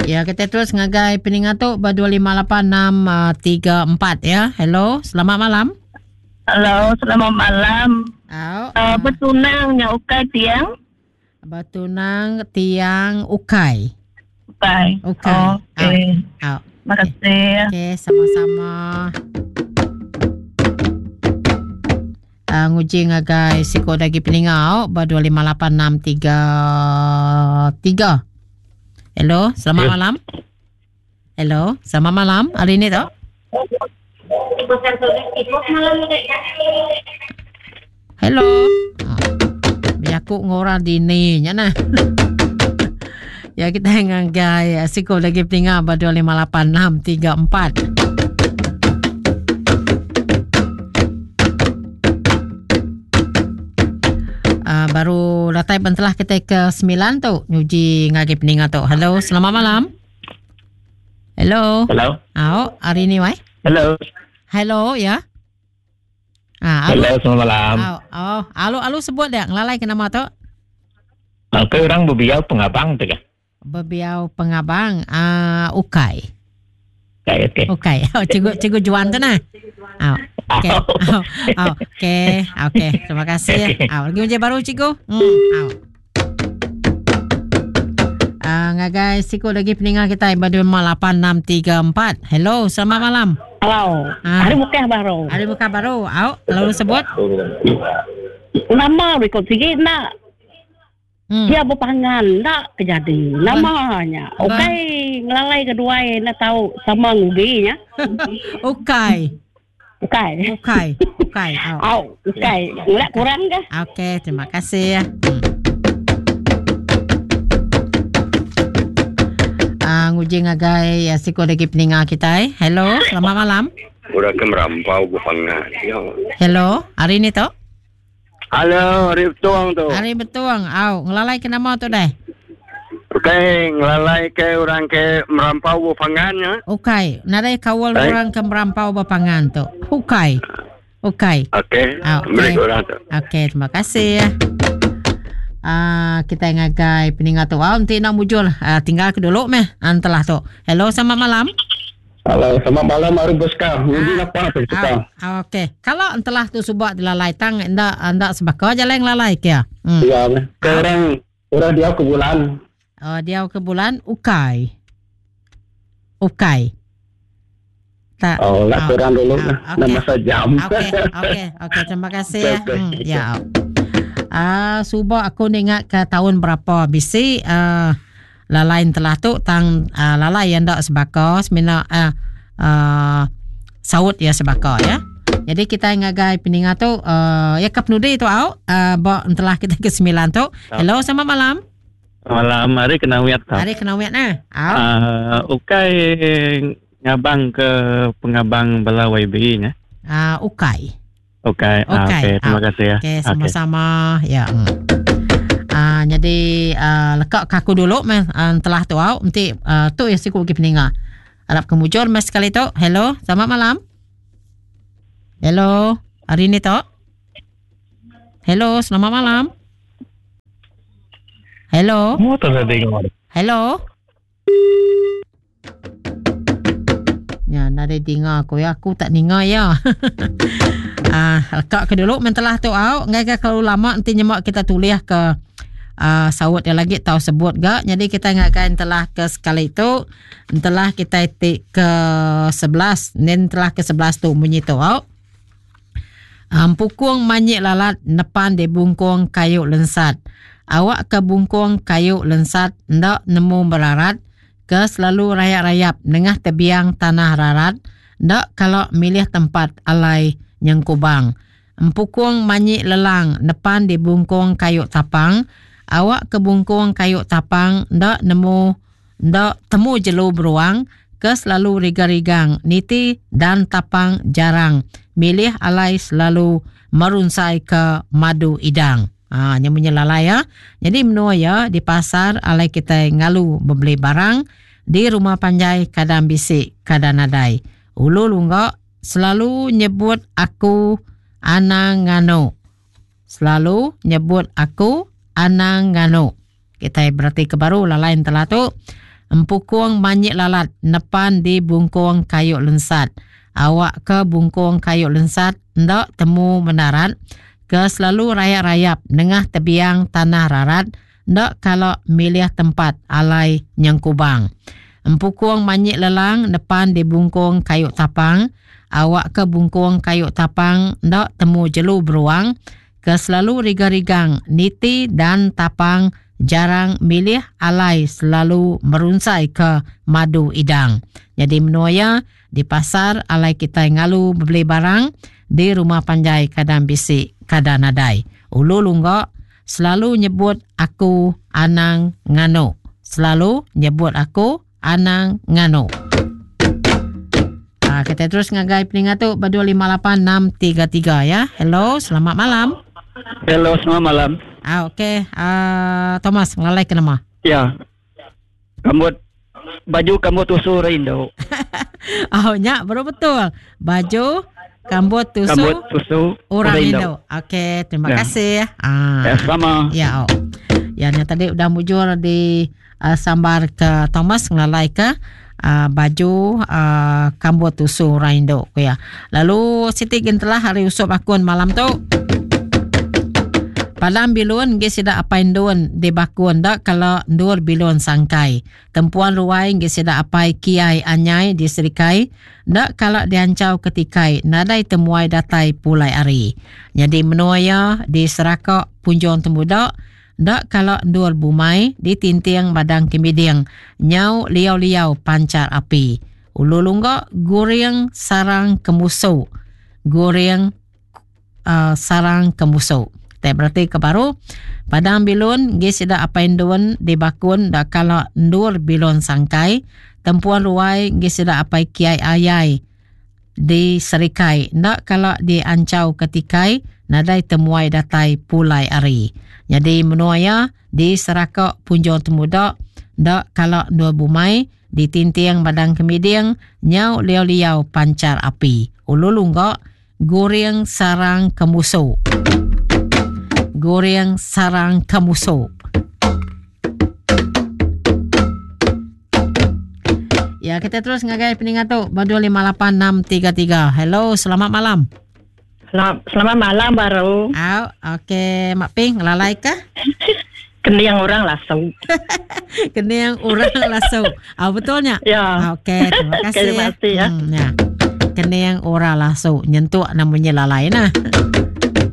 Ya, kita terus ngagai peninga tu ba 258634 ya. Hello, selamat malam. Hello, selamat malam. Au. Betunang nya ukai tiang. Betunang tiang ukai. Ukai. Ukai. Okey. Au. Terima kasih. Okey, sama-sama. Uh, nguji ngagai siku lagi peninga au ba 258633. Hello, selamat Ya. malam. Hello, selamat malam. Hari ni tu? Hello. Biar aku ngorang dini nya nah. ya kita ngagai siku lagi peninga ba 258634. Uh, baru datai bentelah kita ke 9 tu nyuji ngagai peninga tu. Hello, selamat malam. Hello. Hello. Au, hari ni wai. Hello. Hello ya. Ah, Hello, selamat malam. Au, oh, alu alu sebut dia ngelalai ke nama tu. Aku orang bebiau pengabang tu ke? Bebiau pengabang ah ukai. Okey, okey. Ukai. Oh, cikgu cikgu Juan tu nah. Au. Okey. Au. Au. Okey. Okey. Terima kasih. Au, lagi macam baru cikgu. Au. Ngagai siku lagi peninga kita 58634. Hello, selamat malam. Hello. Ah. Hari Mekah baru. Hari Mekah baru. Au, lalu sebut. Nama rekod sigi nak. Dia berpangan nak kejadi. Namanya. Okey, ngelalai kedua nak tahu sama nguginya. Okey. Okey. Okey. Okey. Au, okey. Enggak kurang ke? Okey, terima kasih ya. Nguji ngagai ya, siku lagi peninga kita eh. Hello, selamat malam. Orang ke merampau bukannya. Ya. Hello, hari ni tu? Halo, hari betuang tu. Hari betuang. Au, ngelalai ke nama tu deh. Okey, ngelalai ke orang ke merampau bukannya. Ya. Okey, nadai kawal Baik. orang ke merampau bapangan tu. Okey. Okey. Okey, Ah, okey. beri orang tu. Okey, terima kasih. Kita ngagai peningat tu. Nanti nak mujur. Tinggal ke dulu meh. Antelah tu. Hello, selamat malam. Halo, selamat malam Ari Boska. Nguji apa tu kita? Okey. Kalau entelah tu subak dilalai tang ndak ndak sebaka jalan lalai ke? Ya, ke orang orang dia ke bulan. Oh, dia ke bulan ukai. Ukai. Tak. Oh, lah kurang dulu lah. okey. Nama sejam. Okey, okey, okey. Terima kasih ya. Okey, okey. Ya. Subak aku ingat ke tahun berapa bisi lalai telah tu tang lalai yang dak sebaka semina saut ya sebaka ya. Jadi kita ngagai peningat tu ya ke penudi tu au ba telah kita ke 9 tu. Hello, selamat malam. Malam hari kena wiat tau. Hari kena wiat nah. Au. Ukai ngabang ke pengabang bala YB nya. Ukai. Ukai. Ukai. Okey, terima kasih ya. Okey, sama-sama. Ya. Jadi lekak kaku dulu meh telah tu au nanti tu yang siku pergi peninga. Harap kemujur mas sekali tu. Hello, selamat malam. Hello, hari ni tu. Hello, selamat malam. Hello. Mu tu saya tengok. Hello. Ya, nada dengar aku ya. Aku tak dengar ya. Lekak ke dulu mentelah tu au. Ngai kalau lama nanti nyemak kita tulis ke saut dia lagi tahu sebut gak. Jadi kita ngagai telah ke sekali tu, telah kita tik ke 11, nen telah ke 11 tu bunyi tu au. Pukung manyik lalat nepan di bungkung kayu lensat. Awak ke bungkung kayu lensat ndak nemu merarat ke selalu rayap-rayap nengah tebiang tanah rarat ndak kalau milih tempat alai nyengkubang. Empukung manyik lelang nepan di bungkung kayu tapang. Awak ke bungkung kayu tapang ndak nemu ndak temu jelu beruang ke selalu rigang-rigang niti dan tapang jarang milih alai selalu merunsai ke madu idang. Nyamunya lalai ya. Jadi menua ya di pasar alai kita ngalu membeli barang di rumah panjai kadang bisik kadang nadai. Ulu lunggak selalu nyebut aku anang nganu. Selalu nyebut aku anang nganu. Kita berarti ke baru lalai telah tu. Empukung manyik lalat nepan di bungkung kayu lensat. Awakka bungkung kayu lensat enda temu menarat ke selalu rayap-rayap nengah tebiang tanah rarat enda kala milih tempat alai nyengkubang. Empukung manyik lelang nepan di bungkung kayu tapang. Awakka bungkung kayu tapang enda temu jelu beruang ke selalu rigang-rigang niti dan tapang jarang milih alai selalu merunsai ke madu idang. Nyadi menua iya di pasar alai kitai ngalu bebeli barang di rumah panjai kadang bisi kada nadai. Ulu lungga selalu nyebut aku anang nganu. Selalu nyebut aku anang nganu. Ha, kita terus ngagai peninga tu ba 258633 ya. Hello, selamat malam. Hello, selamat malam. Ah, okey. Ah, Thomas, ngelalai ke nama? Ya. Kambut baju kambut tusu rindu. oh, nya baru betul. Baju kambut tusu, kambut tusu orang rindu. Okey, terima ya. kasih. Ah. Ya, sama. Ya. Oh. Ya, nya tadi udah mujur di uh, sambar ke Thomas ngelalai ke uh, baju uh, kambut tusu orang indu ku ya. Lalu siti gentelah hari usup akun malam tu. Padam bilun ngi sida apai endun di bakun enda kala endur bilun sangkai. Tempuan ruai ngi sida apai kiai anyai di serikai enda kala dianchau ke tikai nadai temuai datai pulai ari. Nyadi menua iya di Seraka Punjung Tembuda Enda kala endur bumai ditinting madang kemiding nyau liau-liau panchar api. Ulu lungga guring sarang kemusu. Guring uh, sarang kemusu. Tai berarti ke baru padang bilun gi sida apai endun di bakun enda kala endur bilun sangkai tempuan ruai gi sida apai kiai ayai di Serikai enda kala dianchau ke tikai nadai temuai datai pulai ari. Nyadi menua iya di Seraka Punjung Temuda enda kala endur bumai ditinting badang kemiding nyau liau-liau panchar api. Ulu lungga guring sarang kemusu. Guring sarang kemusu. Ya, kita terus ngagai peningat tu. Ba 258633. Hello, selamat malam. Selamat, selamat malam baru. Au, okey, Mak Ping, ngelalai ke? Kening orang lasu. Kening orang lasu. Ah betulnya? Ya. Okey, terima kasih. Terima kasih ya. Ya. Kening orang lasu nyentuk namanya lalai nah.